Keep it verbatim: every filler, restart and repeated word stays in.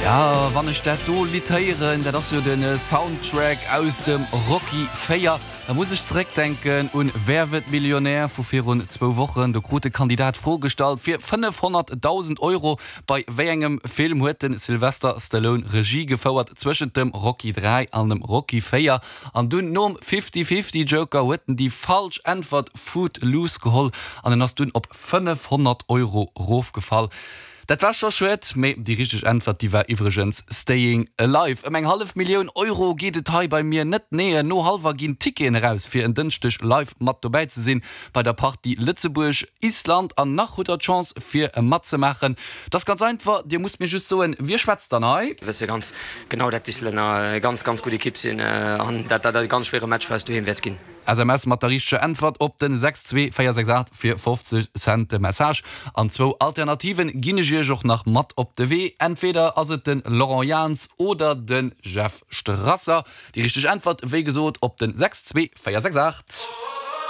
Ja, wann ech dat do Lidd héieren, dat ass jo den Soundtrack aus dem Rocky véier, da muss ech zeréckdenken un Wer wird Millionär vu virun zwou Wochen. Do krut de Kandidat d'Fro gestallt fir fënnefhonnertdausend Euro, Bei wéi engem Film huet de Sylvester Stallone Regie gefouert zwëschent dem Rocky dräi an dem Rocky véier? An dunn nom Fifty-Fifty-Joker huet en déi falsch Äntwert Footloose geholl an en ass dunn op fënnefhonnert Euro rofgefall. Dat war scho schued, mee déi richteg Äntwert, déi war iwwregens Staying Alive. Ëm eng hallef Millioun Euro geet et hei bei mir net, nee, no hallwer ginn d'Ticketen eraus, fir en Dënschdeg live mat dobäi ze sinn bei der Partie Lëtzebuerg, Island. An nach hutt der d'Chance fir matzemaachen. Et ass ganz einfach, dir musst mir just soen, wie schwätzt dann hei? Mir wësse ganz genau, dat d'Islänner e ganz, ganz gutt Ekipp sinn an dat dat e ganz schwéiere Match fir eis doheem wäert ginn. S M S mat der richteger Äntwert op den sechs zwee véier sechs aacht fir fofzeg Cent de Message. An zwou Alternativen ginn ech iech och nach mat op de Wee, entweder ass et den Laurent Jans oder den Jeff Strasser. Déi richteg Äntwert wéi gesot op den sechs zwee véier sechs aacht.